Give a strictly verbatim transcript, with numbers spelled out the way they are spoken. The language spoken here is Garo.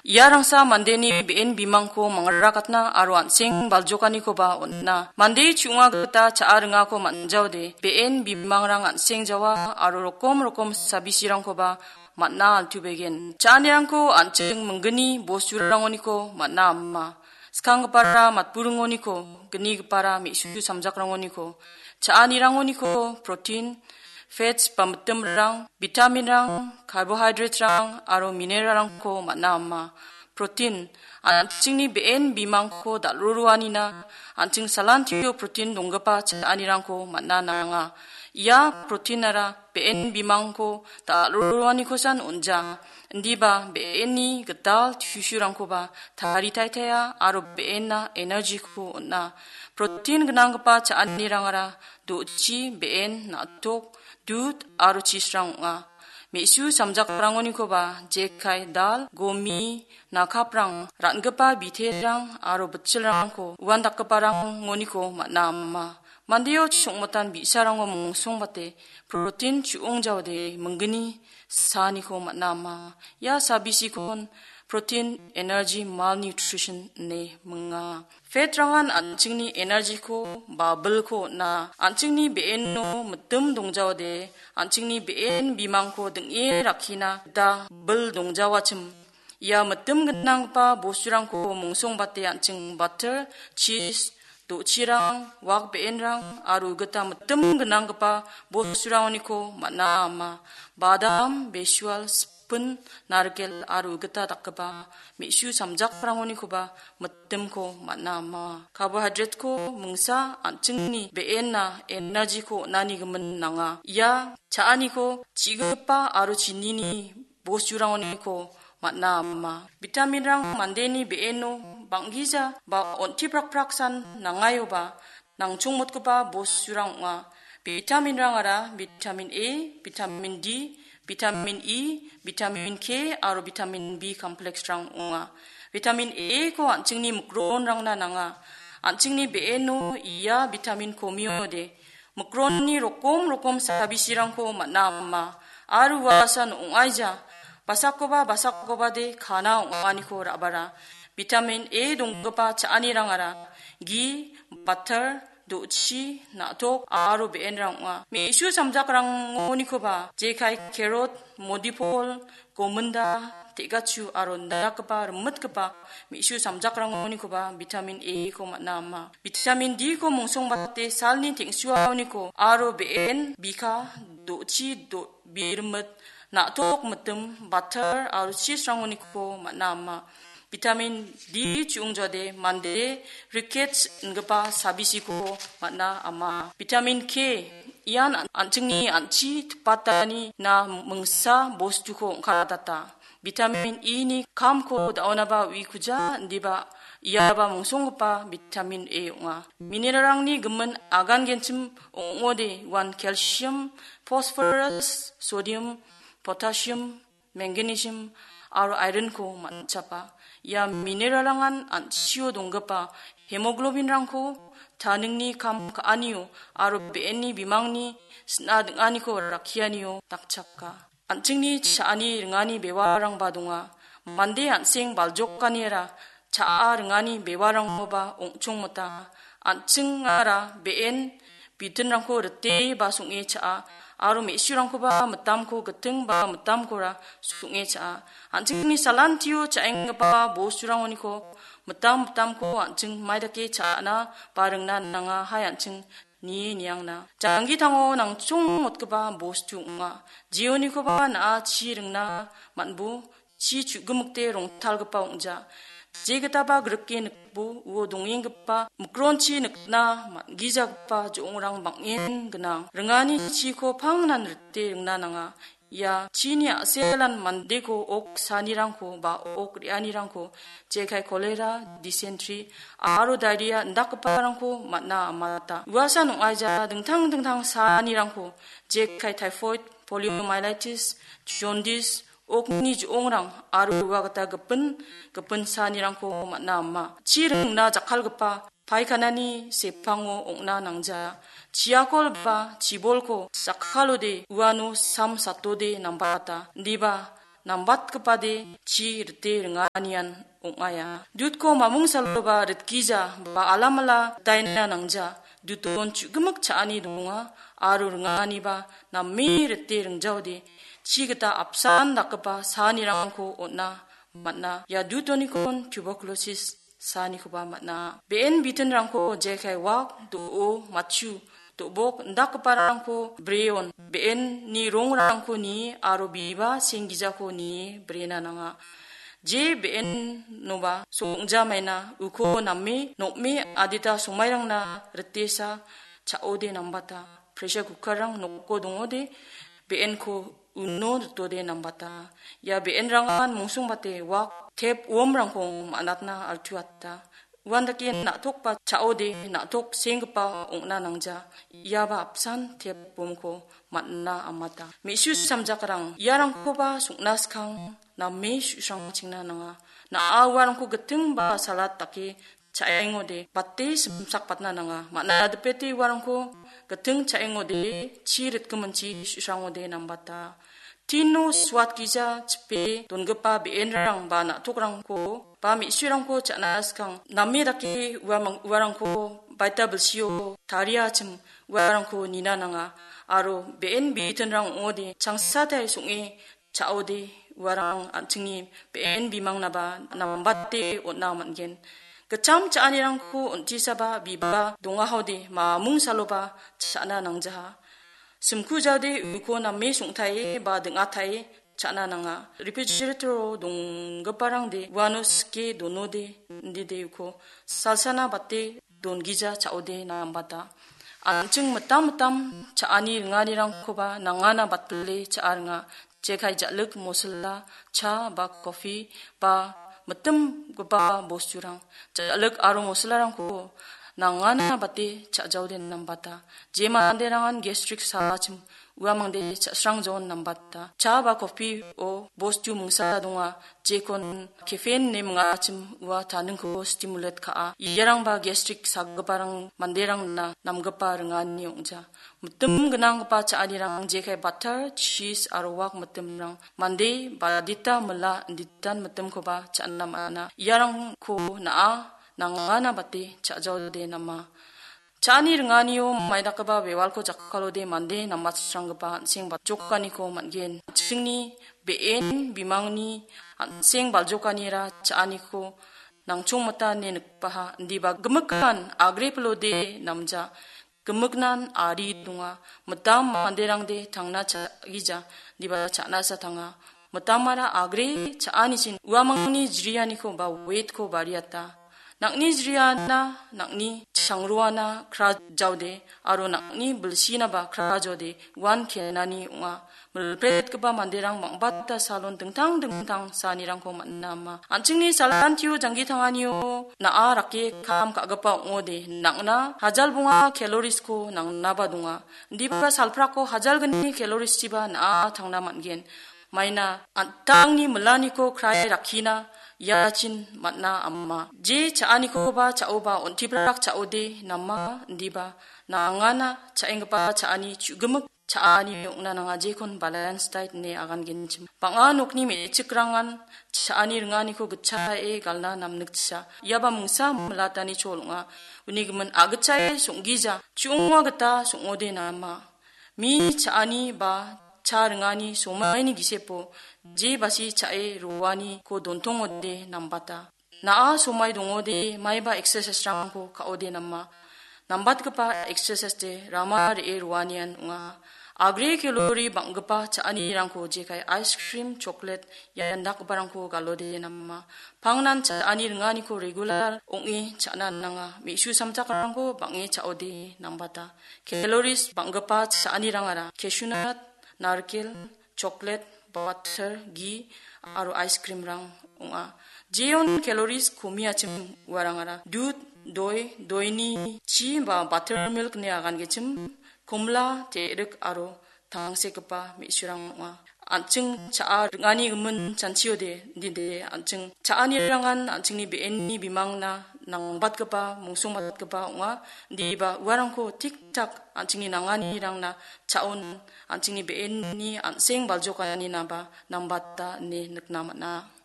Ia rangsa mandeni be·en bimangko mangrakatna aro an·seng baljokanikoba on·a. Mande chu·onga gita cha·a ringako man·jaode, be·en bimangrang an·seng jawa aro rokom rokom sabisirangkoba man·a altubegen. Cha·anirangko an·ching minggni bosturangoniko man·a ama. Skanggipara matburingoniko, gnigipara me·su samjakrangoniko, cha·anirangoniko protein, fats ba mitimrang, vitaminrang, carbohydraterang aro mineralrangko man·a ama. Protein, an·chingni be·en bimangko dal·roroanina, an·ching salantio protein donggipa cha·anirangko man·a nanga. Ia proteinara be·en bimangko dal·roroanikosan on·ja. Indiba be·enni gital tissue-rangkoba taritaitaia aro be·enna energy-ko on·a. Protein gnanggipa cha·anirangara do·chi, be·en, na·tok, dud aro chisrang ong·a. Me·su samjakrangonikoba jekai dal, gomi, nakaprang, ran·gipa biterang aro bitchilrangko uandakgiparangoniko man·a ama. Mandeo chongmotan bi·sarango mongsongbate protein chu·ong jaode minggni saaniko man·a ama. Ia sabisikon protein energy malnutrition ine minga. Fat-rangan an·chingni energy-ko ba bilko on·a. An·chingni be·eno mitim dongjaode, an·chingni be·en bimangko ding·e rakkina gita bil dongjawachim. Ia mitim gnanggipa bosturangko mongsongbate an·ching butter, cheese, do·chirang, wak be·enrang aro gita mitim gnanggipa bosturangoniko man·a ama. Badam, besual, sipin, narikel aro gita dakgipa me·su samjakrangonikoba mitimko man·a ama. Carbohydrate-ko mingsa an·chingni be·enna energy-ko on·ani gimin nanga. Ia cha·aniko chi·gipa aro chinini bosturangoniko man·a ama. Vitaminrang mandeni be·eno bang·gija ba on·tiprakpraksan nangaioba nangchongmotgipa bosturang ong·a. Vitaminrangara vitamin A, vitamin D, vitamin E, vitamin K aro vitamin B complex-rang ong·a. Vitamin A-ko an·chingni mikronrangna nanga. An·chingni be·eno ia vitamin komiode mikronni rokom rokom sabisirangko man·a ama. Aro uasan ong·aija, basakoba basakobade kana ong·aniko ra·bara. Vitamin A donggipa cha·anirangara gi, butter, do·chi, na·tok aro be·enrang ong·a. Me·su samjakrangonikoba jekai carrot, modipol, gominda, te·gachu aro indakgipa rimitgipa me·su samjakrangonikoba vitamin A-ko man·a ama. Vitamin D-ko mongsongbate salni teng·suaoniko aro be·en, bika, do·chi, do-, birimit, na·tok mitim, butter aro cheese-rangoniko man·a ama. Vitamin D chu·ongjade mande rickets ingipa sabisiko man·a ama. Vitamin K ian an-, an·chingni an·chi tipatanina mingsa bostuko ong·katata. Vitamin E-ni kamko da·onaba uikuja, indiba iaba mongsonggipa vitamin A ong·a. Mineralrangni gimin agangenchim ong·ode uan calcium, phosphorus, sodium, potassium, magnesium aro iron-ko man·chapa. Ia mineralrangan an·chio donggipa hemoglobin-rangko taningni kam ka·anio aro be·enni bimangni sina ding·aniko rakkianio dakchaka. An·chingni cha·ani ringani bewarangba donga. Mande an·seng baljokaniara cha·a ringani bewarangoba ong·chongmota. An·chingara be·en bitinrangko rite ba song·e cha·a, aro me·surangkoba mitamko giting ba mitamkora song·e cha·a. An·chingni salantio cha·enggipa bosturangoniko mitam mitamko an·ching maidake cha·na ba ringna nanga, hai an·ching nie niangna. Janggitango nangchongmotgipa bostu ong·a. Jeonikoba na·a chi ringna man·bo, chi chu·gimikde rongtalgipa ong·ja. Jegitaba grike nikbo, uo dongenggipa mikronchi nikna man·gijagipa jo·ongrang bang·en gnang. Ringani chiko pangnan rite ringna nanga. Ia chini a·selan mandeko ok sanirangko ba ok re·anirangko jekai kolera, disentri aro dairia indakgiparangko man·a amata. Uasan ong·aija dingtang dingtang sanirangko jekai taiphoid, poliomyelitis, jondis, okni jo·ongrang aro ua gita gipin, gipin sanirangko man·a ama. Chi ringna jakkalgipa paikanani sepango ong·na nangja. Chiakol ba chibolko jakkalode uano sam satode nambata. Indiba nambatgipade chi rite ringanian ong·aia. Dutko mamung saloba ritgija ba alamala ritaina nangja. Duton chu·gimik cha·ani donga aro ringaniba name rite ringjaode chi gita apsan dakgipa saanirangko on·a man·a. Ia dutonikon tuberculosis saanikoba man·a. Be·en bitinrangko jekai wak, do·o, matchu, do·bok indakgiparangko breon, be·enni rongrangko nie aro biba senggijako nie brena nanga. Je be·enoba song·jamaina uko name nokme adita somairangna ritesa cha·ode nambata. Pressure cookerrang noko dongode be·enko uno ritode nambata. Ia be·enrangan mungsongbate wak tep uomrangko man·atna altuata. Uandake na·tokba cha·ode na·tok senggipa ong·na nangja. Iaba apsan tep uomko man·na amata. Me·su samjakrang iarangkoba song·na skang name su·srangchingna nanga. Na·a uarangko gitting ba salat dake cha·engode bate simsakpatna nanga. Man·a dipete uarangko gitting cha·engode chi ritgiminchi su·srangode nambata. Tino suatgija chipe dongipa be·enrang ba na·tokrangko ba me·surangko cha·na skang name dake uamang-, uarangko baita bilsio tariachim uarangko nina nanga. Aro be·en bitinrang ong·ode changsatai song·e cha·ode uarang an·chingni be·en bimangnaba nambate on·na man·gen. Gitcham cha·anirangko on·tisaba biba dongahode mamung saloba cha·na nangjaha. Simku jaode uko name song·tae ba ding·atae cha·na nanga. Refrigerator-o donggiparangde uano sike donode indide uko salsana bate dongija cha·ode nambata. An·ching mitam mitam cha·ani ringanirangkoba nangana batpile cha·a ringa. Jekai ja·lik mosila, cha ba kopi ba mitimgipa bosturang. Ja·lik aro mosilarangko nangana bate cha·jaode nambata. Je manderangan gastric salachim uamangde cha·srangjon nambata. Cha ba kopi-o bostu mingsa donga, jekon caffeine ine mingachim ua taningko stimulate ka·a. Iarangba gastric sagiparang manderangna namgipa ringani ong·ja. Mitim gnanggipa cha·anirang jekai butter, cheese aro wak mitimrang mande badita mila inditan mitimkoba cha·na man·a. Iarangko na·a nangana bate cha·jaode nama. Cha·ani ringanio maidakgipa bewalko jakkalode mande nambatsranggipa an·seng baljokaniko man·gen. An·chingni be·en bimangni an·seng baljokanira cha·aniko nangchongmita ine nikbaha, indiba gimikan agrepilode namja. Gimiknan ari donga. Mitam manderangde tangna cha·gija, indiba cha·nasa tanga. Mitamara agre cha·anichin uamangni jrianiko ba weight-ko bariata. Nang·ni jriana, nang·ni changruana kra jaode, aro nang·ni bilsinaba kra jaode, uan kenani ong·a. Milpretgipa manderang bang·bata salon dingtang dingtang saanirangko man·a ama. An·chingni salantio janggi tanganio na·a rake kam ka·gipa ong·ode, nang·na hajal bonga calories-ko nangnaba donga. Indiba salprako hajal gni calories-chiba na·a tangna man·gen. Maina an·tangni milaniko krae rakkina iachin man·a ama. Je cha·anikoba cha·oba on·tibrak cha·ode nama indiba nangana cha·enggipa cha·ani chu·gimik cha·ani ong·na nanga jekon balance diet ine agangenchim. Bang·a nokni me·chikrangan cha·ani ringaniko gitchae galna namnikchia. Iaba mingsa milatani chol ong·a. Uni gimin agitchae song·gija, chu·onga gita song·ode nama. Mi cha·ani ba cha ringani somaini gisepo je basi cha·e roaniko dontongode nambata. Na·a somai dongode maiba exercise-rangko ka·ode nama. Nambatgipa exercise-de rama re·e roanian ong·a. Agre calorie bang·gipa cha·anirangko jekai ice cream, chocolate, ian dakgiparangko galode nama. Pangnan cha·ani ringaniko regular ong·e cha·na nanga. Me·su samjakrangko bang·e cha·ode nambata. Calories bang·gipa cha·anirangara cashew nut, narikel, chocolate, butter, ghee aro ice cream-rang ong·a. Jeon calories komiachim uarangara dud, doi, doini chi ba buttermilk ine agangenchim, komla, te·rik aro tangsekgipa me·surang ong·a. An·ching cha·a ring·ani gimin chanchiode, dide an·ching cha·anirangan an·chingni be·enni bimangna nangbatgipa, mungsongbatgipa ong·a. Indiba uarangko tik-tak an·chingni nanganirangna cha·on an·chingni be·enni an·seng baljokaninaba nangbata ine nikna man·a.